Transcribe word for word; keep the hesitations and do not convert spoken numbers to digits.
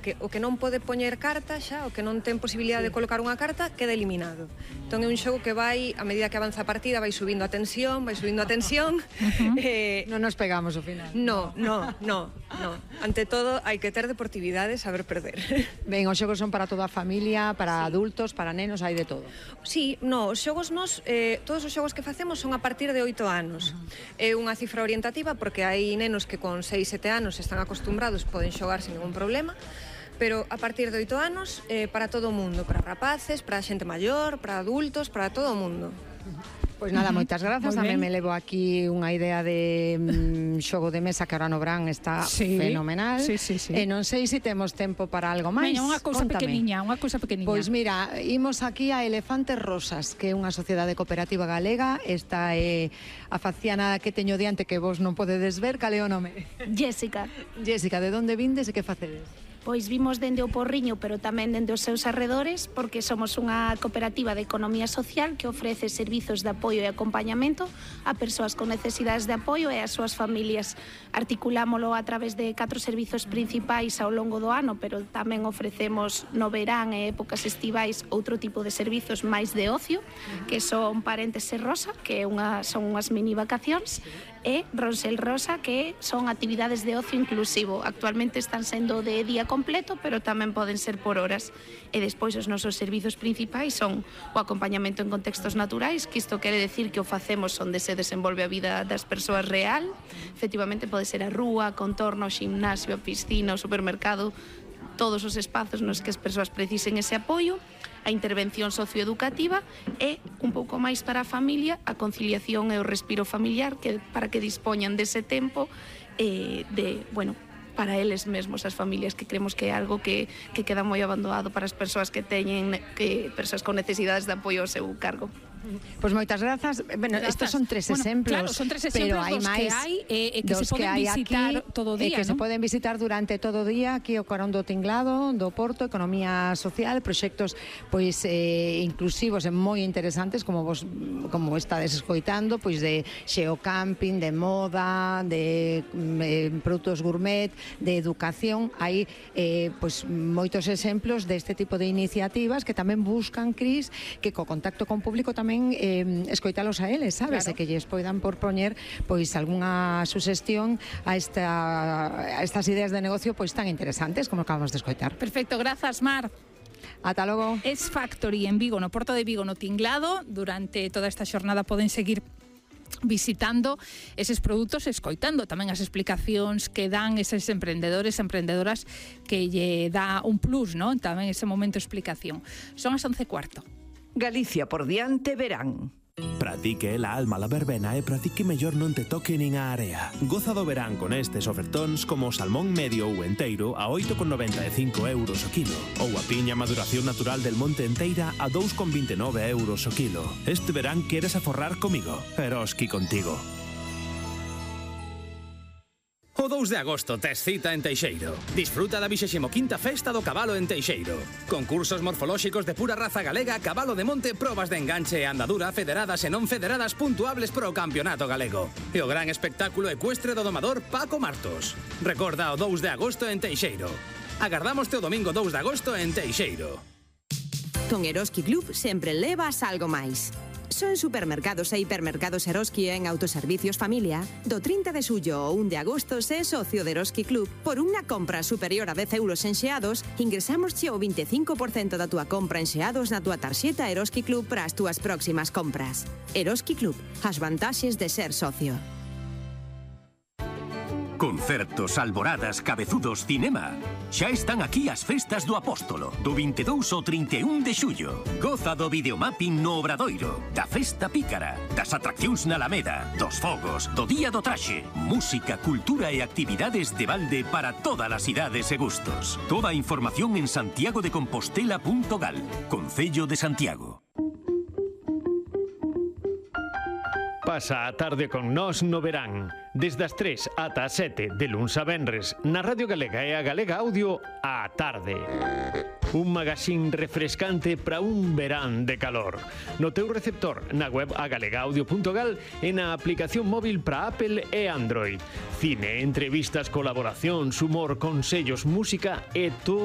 que o que non pode poñer carta xa, o que non ten posibilidade sí. de colocar unha carta, queda eliminado. Entón é un xogo que vai, a medida que avanza a partida, vai subindo a tensión, vai subindo a tensión. Uh-huh. eh, non nos pegamos ao final. No, no, no, no. Ante todo, hai que ter deportividade, saber perder. Ben, os xogos son para toda a familia, para sí. adultos, para nenos, hai de todo. Sí, no, os xogos nos, eh, todos os xogos que facemos son a partir de oito anos. Uh-huh. É unha cifra orientativa porque hai nenos que con seis, sete anos están acostumbrados, poden xogar sin ningún problema, pero a partir de oito anos, eh, para todo o mundo, para rapaces, para xente maior, para adultos, para todo o mundo. Pois nada, moitas grazas. Tamén me levo aquí unha idea de mm, xogo de mesa que ahora no verán está sí, fenomenal. Sí, sí, sí. E non sei se temos tempo para algo máis. Veña, unha cousa pequeniña, unha cousa pequeniña. Pois mira, imos aquí a Elefantes Rosas, que é unha sociedade cooperativa galega. Esta é a faciana que teño diante que vos non podedes ver. Cal é o nome? Jéssica. Jéssica, de onde vindes e que facedes? Pois vimos dende o Porriño, pero tamén dende os seus arredores, porque somos unha cooperativa de economía social que ofrece servizos de apoio e acompañamento a persoas con necesidades de apoio e as súas familias. Articulámolo a través de catro servizos principais ao longo do ano, pero tamén ofrecemos no verán e épocas estivais outro tipo de servizos máis de ocio, que son Paréntese Rosa, que é unha, son unhas mini vacacións, e Ronsel Rosa, que son actividades de ocio inclusivo. Actualmente están sendo de día completo, pero tamén poden ser por horas. E despois os nosos servizos principais son o acompañamento en contextos naturais, que isto quere decir que o facemos onde se desenvolve a vida das persoas real. Efectivamente pode ser a rúa, contorno, ximnasio, a piscina, o supermercado, todos os espazos nos que as persoas precisen ese apoio. A intervención socioeducativa e un pouco máis para a familia, a conciliación e o respiro familiar, que para que dispoñan dese tempo eh, de, bueno, para eles mesmos, as familias, que creemos que é algo que, que queda moi abandonado para as persoas que teñen, que persoas con necesidades de apoio ao seu cargo. Pois moitas grazas. Bueno, estos son tres bueno, exemplos, claro, son tres exemplos pero hai dos máis, que hai e eh, que se poden que visitar aquí, todo o día, que ¿no? se poden visitar durante todo o día aquí o Carón do Tinglado, do Porto, economía social, proxectos pois eh, inclusivos e moi interesantes, como vos como estades escoitando, pois de xeocamping, de moda, de eh, produtos gourmet, de educación. Hai eh, pois moitos exemplos deste tipo de iniciativas que tamén buscan, Cris, que co contacto con público tamén eh, escoitalos a eles, sabes? Claro. E que lles poidan por poñer pois algunha suxestión a, esta, a estas ideas de negocio pois tan interesantes como acabamos de escoitar. Perfecto, grazas, Mar. Ata logo. Es Factory en Vigo, no Porto de Vigo, no Tinglado. Durante toda esta xornada poden seguir visitando eses produtos, escoitando tamén as explicacións que dan eses emprendedores e emprendedoras que lle dá un plus, ¿no? Tamén ese momento de explicación. Son as once e cuarto. Galicia por diante verán. Pratique la alma la verbena e pratique mellor non te toque nin a area. Goza do verán con estes ofertóns como o salmón medio ou enteiro a oito con noventa e cinco euros o kilo ou a piña maduración natural del Monte Enteira a dous con vinte e nove euros o kilo. Este verán queres aforrar comigo? Eroski contigo. O dous de agosto tes cita en Teixeiro. Disfruta da vixésimo quinta Festa do Cabalo en Teixeiro. Concursos morfolóxicos de pura raza galega, cabalo de monte, probas de enganche e andadura federadas e non federadas puntuables pro campeonato galego. E o gran espectáculo ecuestre do domador Paco Martos. Recorda o dous de agosto en Teixeiro. Agardámoste o domingo dous de agosto en Teixeiro. Con Eroski Club sempre levas algo máis. Son supermercados e hipermercados Eroski en autoservicios familia. Do trinta de xullo ao un de agosto se é socio de Eroski Club. Por unha compra superior a dez euros en xeados, ingresamos o vinte e cinco por cento da túa compra en xeados na túa tarxeta Eroski Club para as túas próximas compras. Eroski Club, as vantaxes de ser socio. Concertos, alboradas, cabezudos, cinema. Xa están aquí as festas do Apóstolo, do vinte e dous ao trinta e un de xullo. Goza do videomapping no Obradoiro, da festa pícara, das atraccións na Alameda, dos fogos, do Día do Traxe, música, cultura e actividades de balde para todas as idades e gustos. Toda a información en santiago de compostela punto gal, Concello de Santiago. Pasa a tarde con nós no verán, desde as tres ata as sete de luns a venres, na Radio Galega e a Galega Audio, á tarde. Un magazín refrescante para un verán de calor. No teu receptor, na web a galega audio punto gal e na aplicación móvil para Apple e Android. Cine, entrevistas, colaboracións, humor, consellos, música e todo